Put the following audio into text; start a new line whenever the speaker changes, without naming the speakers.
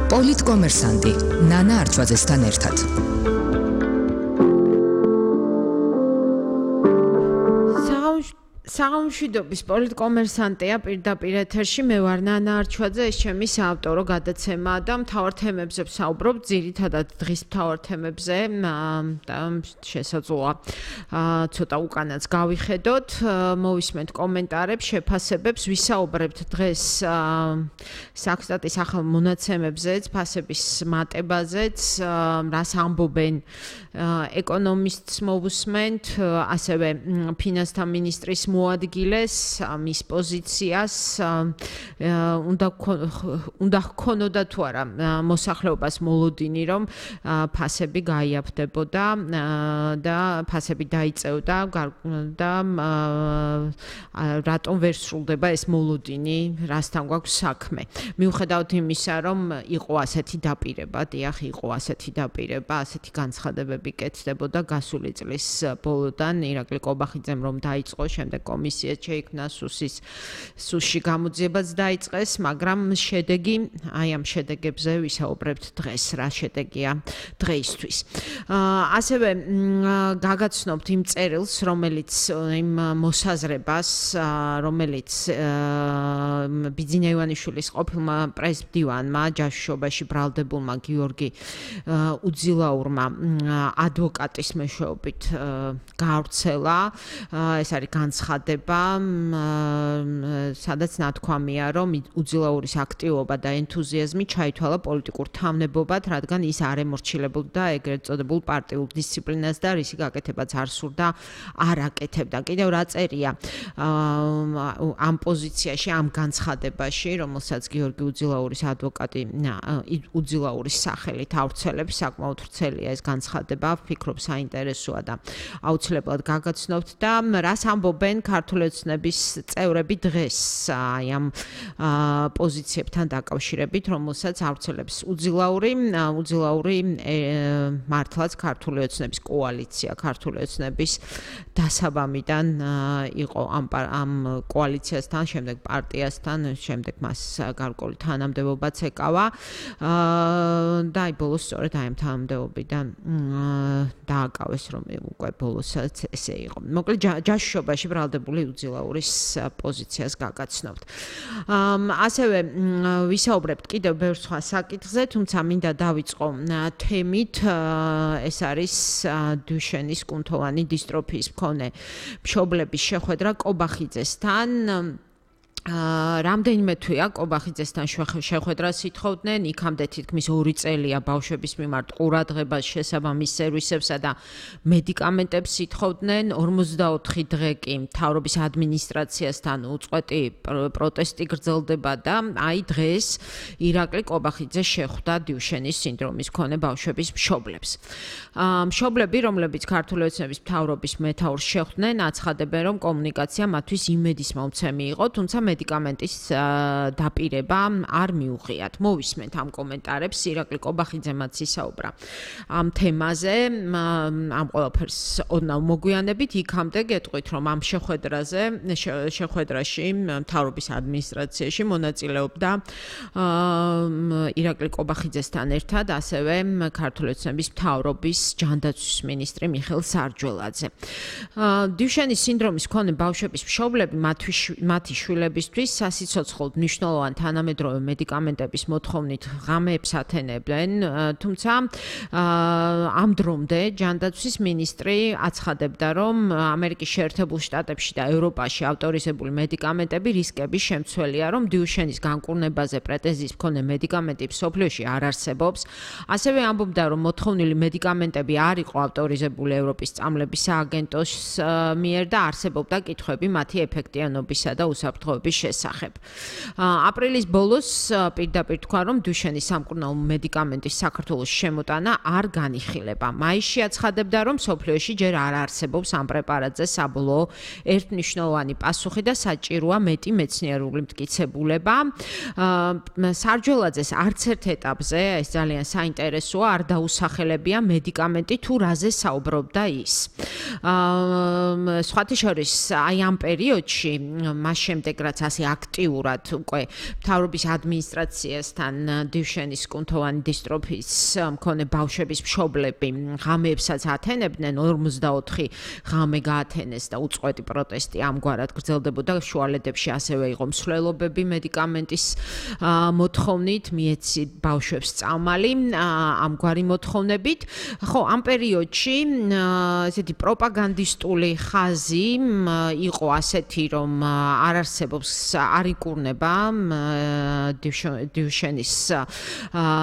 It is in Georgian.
პოლიტკომერსანტი ნანა არჩვაძესთან ერთად.
საღამოშვიდობის პოლიტკომერსანტია პირდაპირ ეთერში მე ვარ ნანა არჩვაძე, ეს ჩემი საავტორო გადაცემა და მთავარ თემებზე ვსაუბრობ, ძირითადად დღის მთავარ თემებზე და შესაძლოა ცოტა უკანაც გავიხედოთ, მოვისმენთ კომენტარებს, შეფასებებს, ვისაუბრებთ დღეს საქსტატის ახალ მონაცემებზეც, ფასების მატებაზეც, რას ამბობენ ეკონომისტს მოვუსმენთ, ასევე ფინანსთა მინისტრის მოადგილეს მის პოზიციას უნდა ჰქონოდა თუ არა მოსახლეობას მოლოდინი რომ ფასები გაიაფდებოდა და ფასები დაიწევდა და რატომ ვერ სრულდება ეს მოლოდინი რასთან გვაქვს საქმე მიუხედავად იმისა რომ იყო ასეთი დაპირება დიახ იყო ასეთი დაპირება ასეთი განცხადებები კეთდებოდა გასული წლის ბოლოდან ირაკლი კობახიძემ რომ დაიწყო შემდეგ კომისია შეიქმნა სუსში გამოძიებაც დაიწყეს, მაგრამ შედეგი, აი ამ შედეგებზე ვისაუბრებთ დღეს, რა შედეგია დღეისთვის. ასევე გაგაცნობთ იმ წერილს, რომელიც იმ მოსაზრებას, რომელიც ბიძინა ივანიშვილის ყოფილმა პრესმდივანმა ჯაშუშობაში ბრალდებულმა გიორგი უძილაურმა ადვოკატის მეშვეობით გაავრცელა, ეს არის განცხადება, სადაც ნათქვამია, რომ უძილაურის აქტივობა და ენთუზიაზმი ჩაითვალა პოლიტიკურ თავნებობად, რადგან ის არ ემორჩილებოდა ეგრეთ წოდებულ პარტიულ დისციპლინას და რისი გაკეთებაც არ სურდა, არ აკეთებდა. კიდევ რა წერია ამ პოზიციაში, ამ განცხადებაში, რომელსაც გიორგი უძილაურის ადვოკატი უძილაურის სახელით ავრცელებს, საკმაოდ ვრცელია ეს განცხადება, ვფიქრობ საინტერესოა და აუცილებლად გაგაცნობთ და რას ამბობენ ქართული ოცნების წევრები დღეს აი ამ პოზიციებთან დაკავშირებით, რომელსაც ავრცელებს უძილაური მართლაც ქართული ოცნების კოალიცია, ქართული ოცნების დასაბამიდან იყო ამ კოალიციასთან, შემდეგ პარტიასთან, შემდეგ მას გარკვეული თანამდებობაც ეკავა და აი ბოლოს სწორედ აი ამ თანამდებობიდან დააკავეს, რომ უკვე ბოლოსაც ესე იყო. მოკლედ ჯაშუშობაში ბრალდებული უძილაურის პოზიციას გაგაცნობთ. ასევე ვისაუბრებთ კიდევ ბევრ სხვა საკითხზე, თუმცა მინდა დავიწყო თემით, ეს არის დუშენის კუნთოვანი დისტროფიის მქონე მშობლების შეხვედრა კობახიძესთან. რამდენიმე თვეა კობახიძესთან შეხვედრას ითხოვდნენ, იქამდე თითქმის 2 წელია ბავშვების მიმართ ყურადღებას შესაბამის სერვისებსა და მედიკამენტებს ითხოვდნენ, 44 დღე კი მთავრობის ადმინისტრაციასთან უწყვეტი პროტესტი გრძელდება და აი დღეს ირაკლი კობახიძე შეხვდა დუშენის სინდრომის მქონე ბავშვების მშობლებს. მშობლები, რომლებიც ქართული ოცნების მთავრობის მეთაურს შეხვდნენ, აცხადებენ, რომ კომუნიკაცია მათთვის იმედისმომცემი იყო, თუმცა მედიკამენტის დაპირება არ მიუღიათ. მოვისმენთ ამ კომენტარებს, ირაკლი კობახიძემაც ისაუბრა ამ თემაზე, ამ ყველაფერს ოდნავ მოგვიანებით, იქამდე გეტყვით, რომ ამ შეხვედრაში მთავრობის ადმინისტრაციაში მონაწილეობდა ირაკლი კობახიძესთან ერთად, ასევე ქართული ოცნების მთავრობის ჯანდაცვის მინისტრი მიხეილ სარჯველაძე. დუშენის სინდრომის მქონე ბავშვების მშობლები მათი შვილებისთვის სასიცოცხლოდ მნიშვნელოვანი თანამედროვე მედიკამენტების მოთხოვნით ღამეებს ათენებდნენ, თუმცა ამ დრომდე ჯანდაცვის მინისტრი აცხადებდა, რომ ამერიკის შეერთებულ შტატებში და ევროპაში ავტორიზებული მედიკამენტები რისკების შემცველია, რომ დუშენის განკურნებაზე პრეტენზიის მქონე მედიკამენტი მსოფლიოში არ არსებობს. ასევე ამბობდა, რომ მოთხოვნილი მედიკამენტები არ იყო ავტორიზებული ევროპის წამლების სააგენტოს მიერ და არსებობდა კითხვები მათი ეფექტიანობისა და უსაფრთხოების შესახებ. აპრილის ბოლოს პირდაპირ თქვა, რომ დუშენის სამკურნალო მედიკამენტის საქართველოს შემოტანა არ განიხილება. მაისში აცხადებდა, რომ მსოფლიოში ჯერ არ არსებობს ამ პრეპარატზე საბოლოო ერთმნიშვნელოვანი პასუხი და საჭიროა მეტი მეცნიერული მტკიცებულება. სარჯველაძეს არც ერთ ეტაპზე, ეს ძალიან საინტერესოა, არ დაუსახელებია მედიკამენტი თუ რაზე საუბრობდა ის. სხვათა შორის, აი ამ პერიოდში, მას შემდეგ რაც რაც ასე აქტიურად უკვე მთავრობის ადმინისტრაციასთან დივშენის კუნთოვანი დისტროფის მქონე ბავშვების მშობლები ღამეებსაც ათენებდნენ 44 ღამე გაათენეს და უწყვეტი პროტესტი ამგვარად გრძელდებოდა შუალედებში ასევე იყო მსვლელობები მედიკამენტის მოთხოვნით მიეცით ბავშვებს წამალი ამგვარი მოთხოვნებით ხო ამ პერიოდში ესეთი პროპაგანდისტული ხაზი იყო ასეთი რომ არ არსებობს არ იკურნება დივშენის